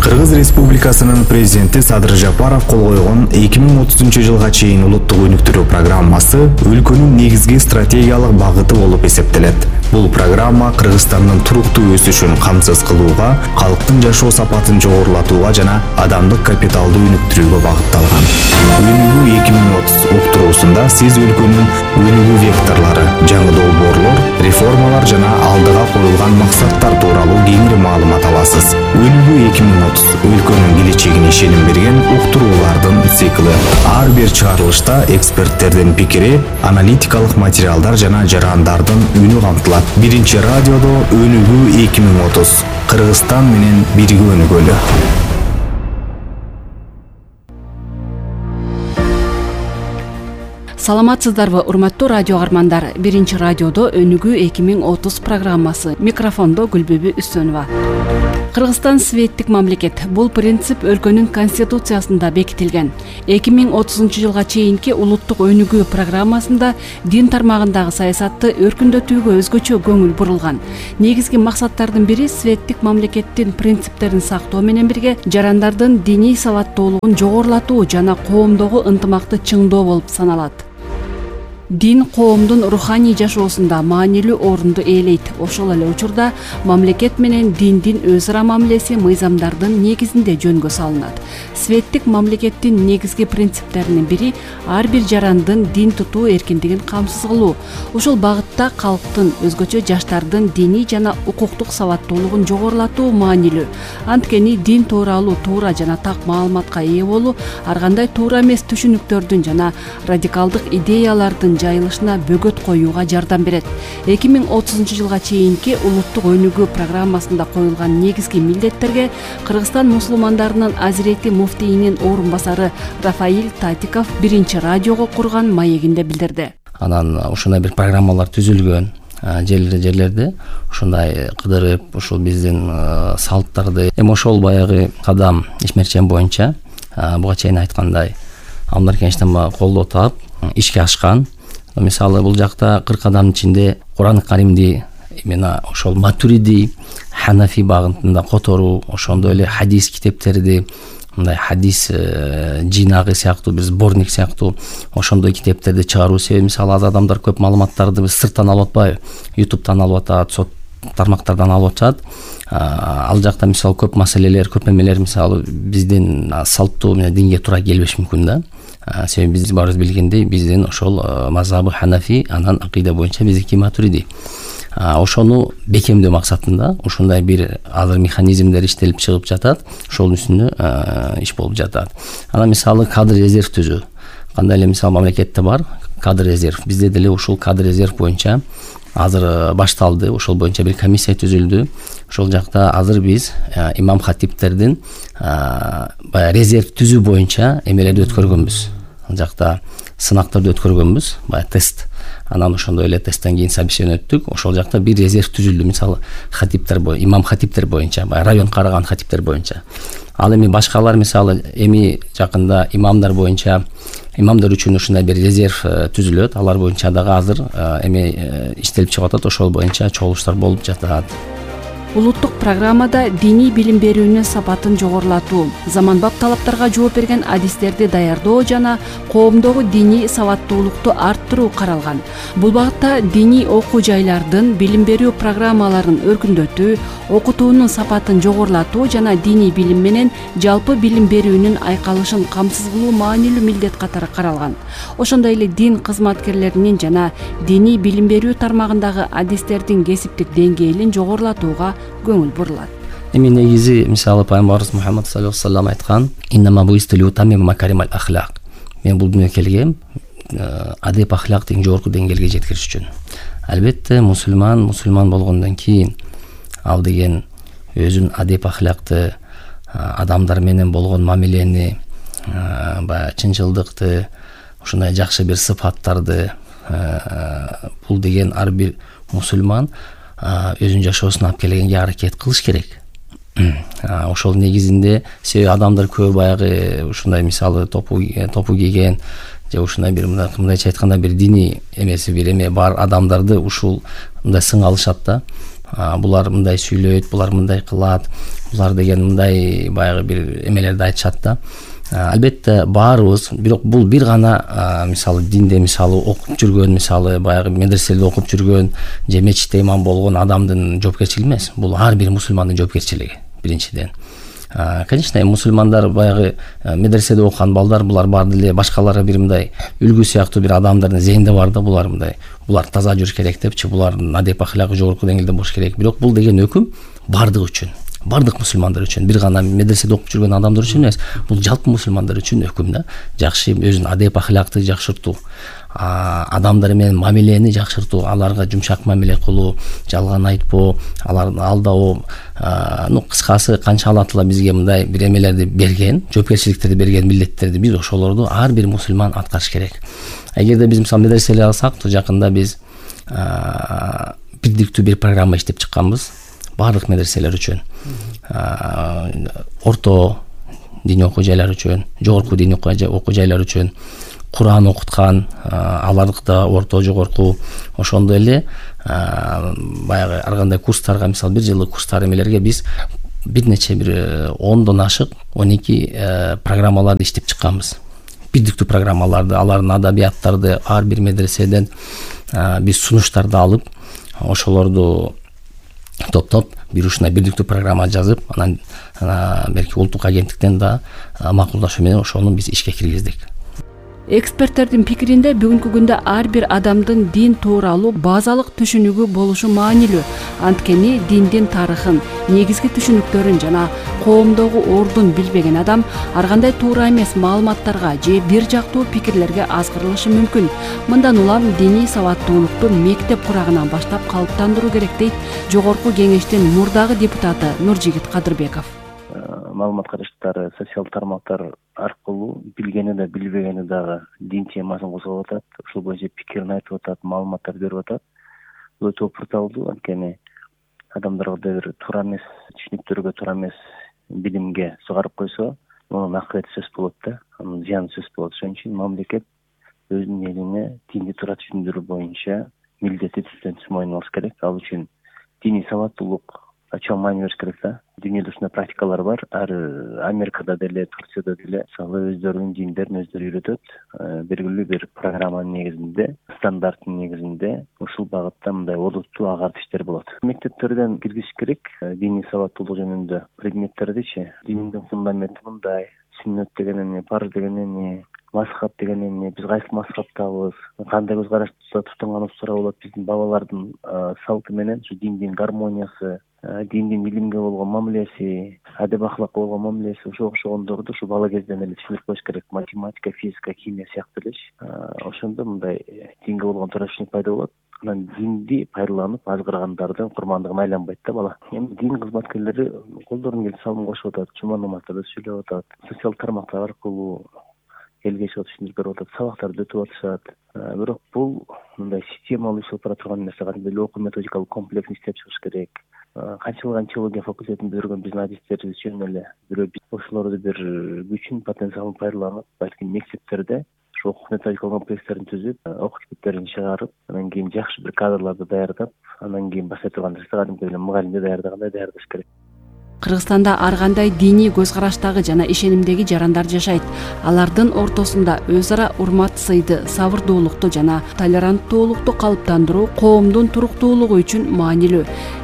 Кыргыз Республикасынын президенти Садыр Жапаров кол койгон 2030-жылга чейин улуттук өнүктүрүү программасы өлкөнүн негизги стратегиялык багыты болуп эсептелет. Бул программа Кыргызстандын туруктуу өсүшүн камсыз кылууга, калктын жашоо сапатын жогорулатууга жана адамдык капиталды өнүктүрүүгө багытталган. Өнүгүү 2030 уктуруусунда сиз өлкөнүн өнүгүү векторлору, жаңы долбоорлор, реформалар жана алдыга коюлган максаттар тууралуу кеңири маалымат аласыз. Өнүгүү 2030 өлкөнүн келечегине ишеним берген уктуруулардын цикли. Ар бир чыгарылышта эксперттердин пикири, аналитикалык материалдар жана жарандардын үнү камтылат. Биринчи радиодо Өнүгүү 2030. Кыргызстан менен бирге өнүгөлү. Саламатсыздарбы, урматтуу радио каармандар. Биринчи радиодо Өнүгүү 2030 программасы. Микрофондо Гүлбүбү Үстөнова. Кыргызстан светтик мамлекет. Бул принцип өлкөнүн конституциясында бекитилген. 2030-жылга чейинки улуттук өнүгүү программасында дин тармагындагы саясатты өркүндөтүүгө өзгөчө көңүл бурулган. Негизги максаттардын бири светтик мамлекеттин принциптерин сактоо менен бирге жарандардын диний сабаттуулугун жогорулатуу жана коомдогу ынтымакты чыңдоо болуп саналат. Дин коомдун руханий жашоосунда маанилүү орунду ээлейт. Ошол эле учурда мамлекет менен диндин өз ара мамилеси мыйзамдардын негизинде жөнгө салынат. Светтик мамлекеттин негизги принциптеринин бири ар бир жарандын дин тутуу эркиндигин камсыз кылуу. Ушул багытта калктын, өзгөчө жаштардын диний жана укуктук сабаттуулугун жогорулатуу маанилүү. Анткени дин тууралуу туура жана так маалыматка ээ болуу ар кандай туура эмес түшүнүктөрдүн жана радикалдык идеялардын жайылышына бөгөт коюуга жардам берет. 2030-жылга чейинки улуттук өнүгүү программасында коюлган негизги милдеттерге Кыргызстан мусулмандарынын Азирети муфтийинин орун басары Рафаил Татиков биринчи радиого курган маегинде билдирди. Анан ушундай бир программалар түзүлгөн. Жерлерде ушундай кыдырып, ушул биздин салттарды, эми ошол баягы кадам ишмерчен боюнча буга чейин айткандай Алмар Кенчтен колдоо таап ишке ашкан. Мисалы бул жакта 40 адамдын ичинде Куран Каримди именно ошол Матуриди, Ханафи багытында которуу, ошондой эле хадис китептерди, мындай хадис жинагы сыяктуу бир сборник сыяктуу ошондой китептерди чыгаруу. Себеби мисалы аз адамдар көп маалыматтарды биз сырттан алып атпайбы, YouTube'дан алып атат, сот тармактардан алып атат. Ал жакта мисалы көп маселелер, көп эмелер мисалы биздин салттуу менен динге туура келбеш мүмкүн да. Себеби биз баарыбыз билгендей, биздин ошол мазхабы Ханафи, анан акыйда боюнча биздики Матуриди. Ошону бекемдөө максатында ушундай бир азыр механизмдер иштелип чыгып жатат. Ошол үстүнө иш болуп жатат. Анан мисалы кадр резерв түзүү. Кандай эле мисалы мамлекетте бар кадр резерв. Бизде деле ушул кадр резерв боюнча азыр башталды. Ошол боюнча бир комиссия түзүлдү. Ошол жакта азыр биз имам хатиптердин баягы резерв түзүү боюнча эмелерди өткөргөнбүз. Ал жакта сынактарды өткөргөнбүз, баягы тест. Анан ошондой эле тесттен кийин собеседование өттүк. Ошол жакта бир резерв түзүлдү. Мисалы хатиптер имам хатиптер боюнча, баягы район караган хатиптер боюнча. Ал эми башкалар мисалы эми жакында имамдар боюнча, имамдар үчүн ушундай бир резерв түзүлөт. Алар боюнча дагы азыр эми иштелип чыгып атат. Ошол боюнча чогулуштар болуп жатат. Улуттук программада диний билим берүүнүн сапатын жогорулатуу, заманбап талаптарга жооп берген адистерди даярдоо жана коомдогу диний сабаттуулукту арттыруу каралган. Бул багытта диний окуу жайлардын билим берүү программаларын өркүндөтүү, окутуунун сапатын жогорулатуу жана диний билим менен жалпы билим берүүнүн айкалышын камсыз кылуу маанилүү милдет катары каралган. Ошондой эле дин кызматкерлеринин жана диний билим берүү тармагындагы адистердин кесиптик деңгээлин жогорулатууга көңүл бурулат. Эми негизи мисалы пайгамбарыбыз Мухаммад саллаллаху алейхи ва саллям айткан: "Иннама буистилу тамим макаримал ахлак." Мен бул дүнүйгө келгем адеп ахлакты эң жогорку деңгээлге жеткириш үчүн. Албетте мусулман болгондон кийин ал деген өзүнүн адеп ахлакты, адамдар менен болгон мамилени, баягы чынчылдыкты, ушундай жакшы бир сыпаттарды бул деген ар бир мусулман өзүнүн жашоосуна алып келгенге аракет кылыш керек. Ошол негизинде себеби адамдар көп баягы ушундай мисалы топу кийген же ушундай бир мындайча айтканда бир диний эмеси бир эме бар адамдарды ушул мындай сың алышат да. булар мындай сүйлөйт, булар мындай кылат, булар деген мындай баягы бир эмелерди айтышат да. Албетте баарыбыз, бирок бул бир гана мисалы динде мисалы окуп жүргөн, мисалы баягы медреселерде окуп жүргөн же мечитте имам болгон адамдын жоопкерчилиги эмес. Бул ар бир мусулмандын жоопкерчилиги биринчиден. Конечно, мусулмандар баягы медреседе окуган балдар, булар баары деле башкаларга бир мындай үлгү сыяктуу бир адамдардын зейинде бар да, булар мындай, булар таза жүрүш керек депчи, булардын адеп ахлагы жогорку деңгээлде болуш керек. Бирок бул деген өкүм бардык үчүн, бардык мусулмандар үчүн, бир гана медреседе окуп жүргөн адамдар үчүн эмес. Бул жалпы мусулмандар үчүн өкүм да. Жакшы өзүнүн адеп ахлакты жакшыртуу, адамдар менен мамилени жакшыртуу, аларга жумшак мамиле кылуу, жалган айтпоо, аларды алдабоо, кыскасы канча Алла Таала бизге мындай бир эмелерди берген, жоопкерчиликтерди берген, милдеттерди биз ошолорду ар бир мусулман аткарыш керек. Эгерде биз мисалы медреселерди алсак, жакында биз бирдиктүү бир программа иштеп чыкканбыз баардык медреселер үчүн. Орто диний окуу жайлар үчүн, жогорку диний окуу жайлар үчүн Кур'ан окуткан, аларда орто жогорку, ошондой эле баягы ар кандай курстарга, мисалы бир жылдык курстар эмелерге биз бир нече бир 10дон ашык 12 программаларды иштеп чыкканбыз. Бирдиктүү программаларды, алардын адабияттарды ар бир медреседен биз сунуштарды алып, ошолорду топтоп бир ушундай бирдиктүү программа жазып, анан берки улуттук агенттиктен да макулдашуу менен ошону биз ишке киргиздик. Эксперттердин пикиринде бүгүнкү күндө ар бир адамдын дин тууралуу базалык түшүнүгү болушу маанилүү. Анткени диндин тарыхын, негизги түшүнүктөрүн жана коомдогу ордун билбеген адам ар кандай туура эмес маалыматтарга же бир жактуу пикирлерге азгырылышы мүмкүн. Мындан улам диний сабаттуулукту мектеп курагынан баштап калыптандыруу керек дейт Жогорку Кеңештин мурдагы депутаты Нуржигит Кадырбеков. Маалымат караштары социалдык тармактар аркылуу билгени да билбегени дагы дин темасын козгоп атат, ушул боюнча пикирин айтып атат, маалыматтар берип атат. Бул өтө оптурдуу, анткени адамдарга бир туура эмес түшүнүктөргө, туура эмес билимге сугарып койсо, мунун акыбети сөз болот да, анын зыяны сөз болот. Ошон үчүн мамлекет өзүнүн элине динди туура түшүндүрүү боюнча милдети түздөн түз мойнуна алыш керек. Ал үчүн диний сабаттуулук чоң маани бериш керек да. Дүйнөдө ушундай практикалар бар. Ар Америкада деле, Турцияда деле мисалы өздөрүнүн диндерин өздөрү үйрөтөт. Белгилүү бир программанын негизинде, стандарттын негизинде ушул багытта мындай олуттуу агартуу иштер болот. Мектептерден киргизиш керек диний сабаттуулук жөнүндө предметтердичи. Диндин фундаменти мындай, сүннөт деген эмне, парыз деген эмне, мазхаб деген эмне, биз кайсы мазхабтабыз, кандай көз карашта тутунганыбыз туура болот, биздин бабалардын салты менен ушу диндин гармониясы, диндин илимге болгон мамилеси, адеп ахлакка болгон мамилеси, ошого окшогондорду ушу бала кезден эле түшүнүп коюш керек. Математика, физика, химия сыяктуу эле. Ошондо мындай динге болгон туура түшүнүк пайда болот. Анан динди пайдаланып азгыргандардын курмандыгына айланбайт да бала. Эми дин кызматкерлери колдорун келип салым кошуп атат, жума намаздарда сүйлөп атат, социалдык тармактар аркылуу элге чыгып түшүндүрүп берип атат, сабактарды өтүп атышат. Бирок бул мындай системалуу иштеп бара турган нерсе, кандайдыр эле окуу методикалык комплексин иштеп чыгыш керек. Канчалык антиология факультетин бүтүргөн биздин адистерибиз жөн эле бирөө ошолорду бир күчүн, потенциалын пайдаланып, балким мектептерде ошо окуу методикалык комплекстерин түзүп, окуу китептерин чыгарып, анан кийин жакшы бир кадрларды даярдап, анан кийин баштай турган нерсе кадимки эле мугалимди даярдагандай даярдаш керек. Кыргызстанда ар кандай диний көз караштагы жана ишенимдеги жарандар жашайт. Алардын ортосунда өз ара урмат, сыйды, сабырдуулукту жана толеранттуулукту калыптандыруу коомдун туруктуулугу үчүн маанилүү.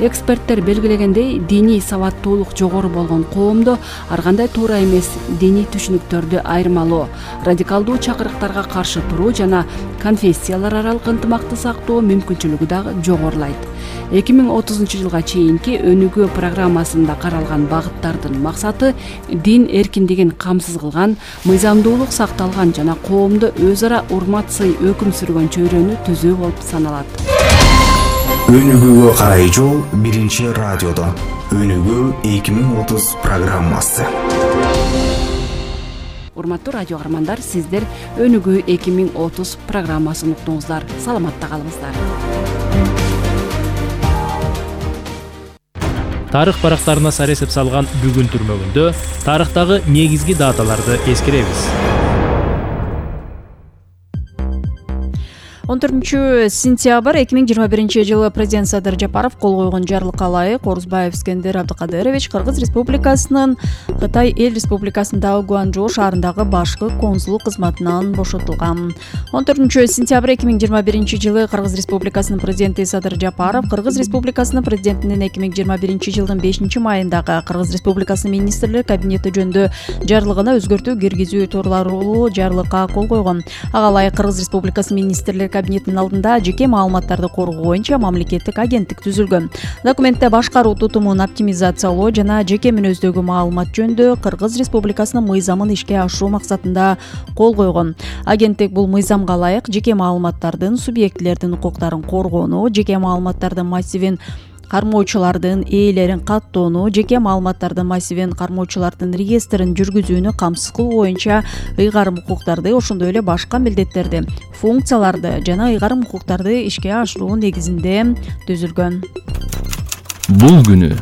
Эксперттер белгилегендей, диний сабаттуулук жогору болгон коомдо ар кандай туура эмес диний түшүнүктөрдү айырмалоо, радикалдуу чакырыктарга каршы туруу жана конфессиялар аралык ынтымакты сактоо мүмкүнчүлүгү дагы жогорулайт. 2030 жылга чейинки өнүгүү программасында каралган багыттардын максаты дин эркиндигин камсыз кылган, мыйзамдуулук сакталган жана коомдо өз ара урмат, сый өкүм сүргөн чөйрөнү түзүү болуп саналат. Өнүгүүгө карай жол биринчи радиодо. Өнүгүү 2030 программасы. Урматтуу радио каармандар, сиздер Өнүгүү 2030 программасын уктуңуздар. Саламатта калыңыздар. Тарых барактарына сар эсеп салган бүгүн түрмөгүндө тарыхтагы негизги даталарды эскеребиз. 14-сентябрь 2021 президент Садыр Жапаров кол койгон жарлыкка ылайык Орузбаев Искендер Абдыкадырович Кыргыз Республикасынын Кытай Эл Республикасындагы Гуанчжоу шаарындагы башкы консуллук кызматынан бошотулган. 14-сентябрь 2021 Кыргыз Республикасынын президенти Садыр Жапаров Кыргыз Республикасынын президентинин 2021 5 майындагы Кыргыз Республикасынын министрлер кабинети жөнүндө жарлыгына өзгөртүү киргизүү тууралуу жарлыкка кол койгон. Ага ылайык Кыргыз Республикасынын министрлер кабинетинин алдында жеке маалыматтарды коргоо боюнча мамлекеттик агенттик түзүлгөн. Документте башкаруу тутумун оптимизациялоо жана жеке мүнөздөгү маалымат жөнүндө Кыргыз Республикасынын мыйзамын ишке ашыруу максатында кол койгон. Агенттик бул мыйзамга ылайык жеке маалыматтардын субъектилердин укуктарын коргоону, жеке маалыматтардын массивин кармоочулардын ээлерин каттоону, жеке маалыматтардын массивин кармоочулардын реестрин жүргүзүүнү камсыз кылуу боюнча ыйгарым укуктарды, ошондой эле башка милдеттерди, функцияларды жана ыйгарым укуктарды ишке ашыруу негизинде түзүлгөн. Бул күнү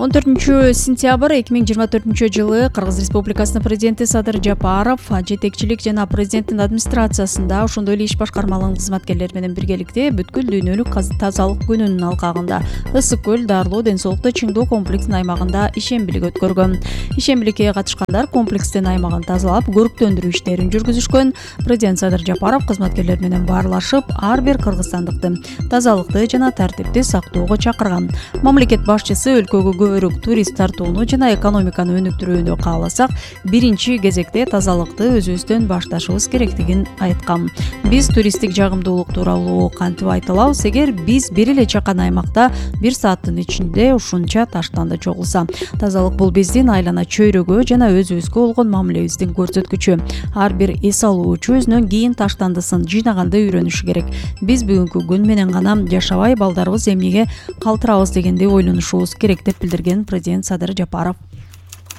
14-сентябрь 2024 Кыргыз Республикасынын президенти Садыр Жапаров жетекчилик жана президенттин администрациясында, ошондой эле иш башкармаларынын кызматкерлери менен биргеликте бүткүл дүйнөлүк тазалык күнүнүн алкагында ысык көл дарылоо ден соолукту чыңдоо комплексинин аймагында ишембилик өткөргөн. Ишембиликке катышкандар комплекстин аймагын тазалап, көрүктөндүрүү иштерин жүргүзүшкөн. Президент Садыр Жапаров кызматкерлер менен баарлашып, ар бир кыргызстандыкты тазалыкты жана тартипти сактоого чакырган. Мамлекет башчысы өлкөгө көбүрөөк турист тартууну жана экономиканы өнүктүрүүнү кааласак, биринчи кезекте тазалыкты өзүбүздөн башташыбыз керектигин айткан. Биз туристтик жагымдуулук тууралуу кантип айта алабыз? Эгер биз бир эле чакан аймакта 1 сааттын ичинде ушунча таштанды чогулса, тазалык бул биздин айлана чөйрөгө жана өзүбүзгө болгон мамилебиздин көрсөткүчү. Ар бир эс алуучу өзүнөн кийин таштандысын жыйнаганды үйрөнүшү керек. Биз бүгүнкү күн менен гана жашабай, балдарыбыз эмнеге калтырабыз дегенди ойлонушубуз керек деп билдирген президент Садыр Жапаров.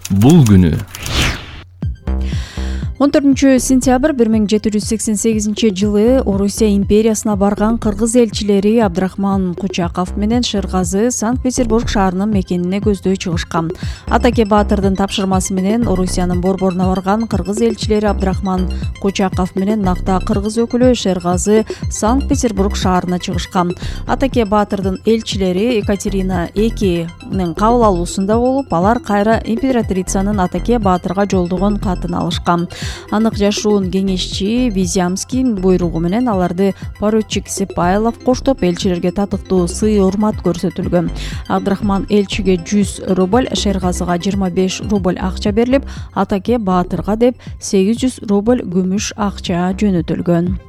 Бул күнү 14-сентябрь 1788 жылы Орусия империясына барган кыргыз элчилери Абдрахман Кучаков менен Шергазы Санкт-Петербург шаарынын мекенине көздөй чыгышкан. Атаке Баатырдын тапшырмасы менен Орусиянын борборуна барган кыргыз элчилери Абдрахман Кучаков менен накта кыргыз өкүлү Шергазы Санкт-Петербург шаарына чыгышкан. Атаке Баатырдын элчилери Екатерина II кабыл алуусунда болуп, алар кайра императрицанын Атаке Баатырга жолдогон катын алышкан. Анык жашуун кеңешчи Визямский буйругу менен аларды поручик Сипайлов коштоп, элчилерге татыктуу сый урмат көрсөтүлгөн. Абдрахман элчиге 100 рубль, Шергазыга 25 рубль акча берилип, Атаке Баатырга деп 800 рубль күмүш акча жөнөтүлгөн.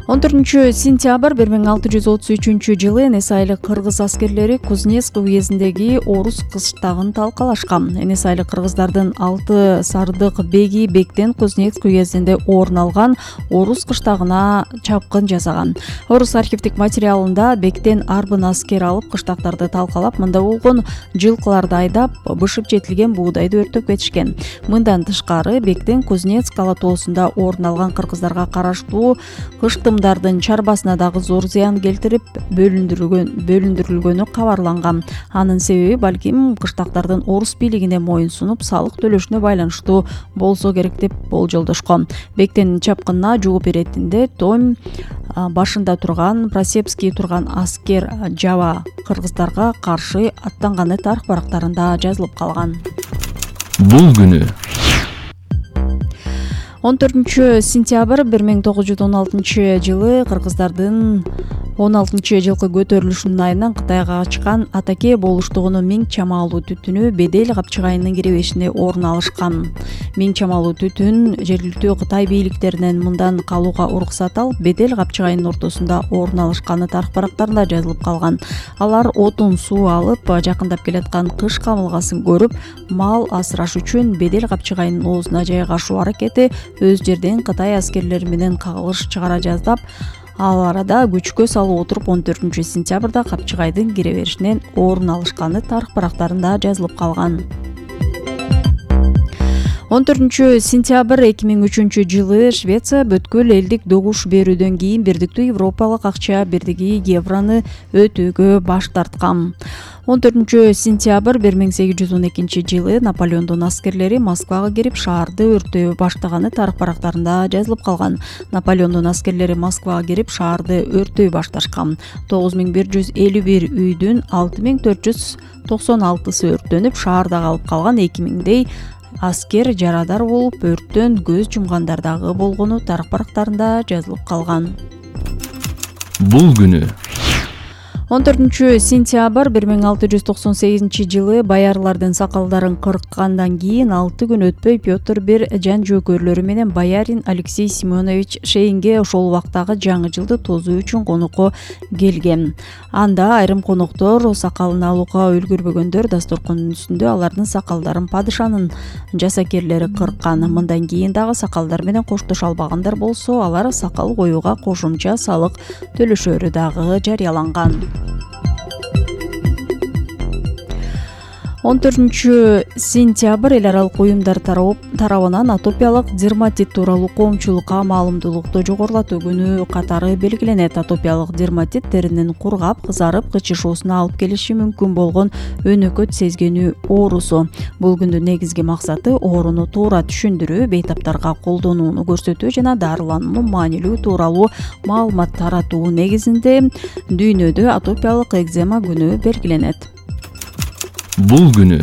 14-сентябрь 1633 жылы Энес айлык кыргыз аскерлери Кузнецк уездиндеги Орус кыштагын талкалашкан. Энес айлык кыргыздардын 6 сардык беги бектен Кузнецк уездинде орун алган Орус кыштагына чапкын жасаган. Орус архивдик материалында бектен арбын аскер алып кыштактарды талкалап, мында болгон жылкыларды айдап, бышып жетилген буудайды өртөп кетишкен. Мындан тышкары бектен Кузнецк алатоосунда орун алган кыргыздарга караштуу кыштымдардын чарбасына дагы зор зыян келтирип бөлүндүрүлгөнү кабарланган. Анын себеби балким кыштактардын орус бийлигине моюн сунуп салык төлөшүнө байланыштуу болсо керек деп болжолдошкон. Бектен чапкынына жооп беретинде Том башында турган Просепский турган аскер жаба кыргыздарга каршы аттанганы тарых барактарында жазылып калган. Бул күнү 14-сентябрь 1916 жылы кыргыздардын 16-жылкы көтөрүлүшүнүн айынан Кытайга качкан Атаке болуштугунун миң чамалуу түтүнү Бедел капчыгайынын киребешине орун алышкан. Миң чамалуу түтүн жергиликтүү Кытай бийликтеринен мындан калууга уруксат алып, Бедел капчыгайынын ортосунда орун алышканы тарых барактарында жазылып калган. Алар отун суу алып, жакындап келаткан кыш камылгасын көрүп, мал асыраш үчүн Бедел капчыгайынын оозуна жайгашуу аракети өз жерден Кытай аскерлери менен кагылыш чыгара жаздап, ал арада күчкө салып отуруп 14-сентябрда капчыгайдын кире беришинен орун алышканы тарых барактарында жазылып калган. 14-сентябрь 2003 жылы Швеция бүткүл элдик добуш берүүдөн кийин бирдиктүү Европалык акча бирдиги евроны өтүүгө баш тарткан. 14 сентябрь 1812 жылы Наполеондун аскерлери Москвага кирип шаарды өрттөй баштаганы тарых барактарында жазылып калган. Наполеондун аскерлери Москвага кирип шаарды өрттөй башташкан. 9151 үйдүн 6496сы өрттөнүп, шаарда калып калган 2000дей аскер жарадар болуп, өрттөн көз жумгандар дагы болгону тарых барактарында жазылып калган. Бул күнү 14 сентябрь 1698 жылы боярлардын сакалдарын кырккандан кийин 6 күн өтпөй Петр бир жан жөөкөрлөрү менен боярин Алексей Семенович Шейинге ошол убактагы жаңы жылды тосуу үчүн конокко келген. Анда айрым коноктор сакалын алууга үлгүрбөгөндөр дасторкондун үстүндө алардын сакалдарын падышанын жасакерлери кырккан. Мындан кийин дагы сакалдар менен коштошо албагандар болсо, алар сакал коюуга кошумча салык төлөшөрү дагы жарыяланган. 14 сентябрь эл аралык уюмдар тарабынан атопиялык дерматит тууралуу коомчулукка маалымдуулукту жогорулатуу күнү катары белгиленет. Атопиялык дерматит теринин кургап, кызарып, кычышуусуна алып келиши мүмкүн болгон өнөкөт сезгенүү оорусу. Бул күндүн негизги максаты ооруну туура түшүндүрүү, бейтаптарга колдонууну көрсөтүү жана дарылануу маанилүү тууралуу маалымат таратуу негизинде дүйнөдө атопиялык экзема күнү белгиленет. Бул күнү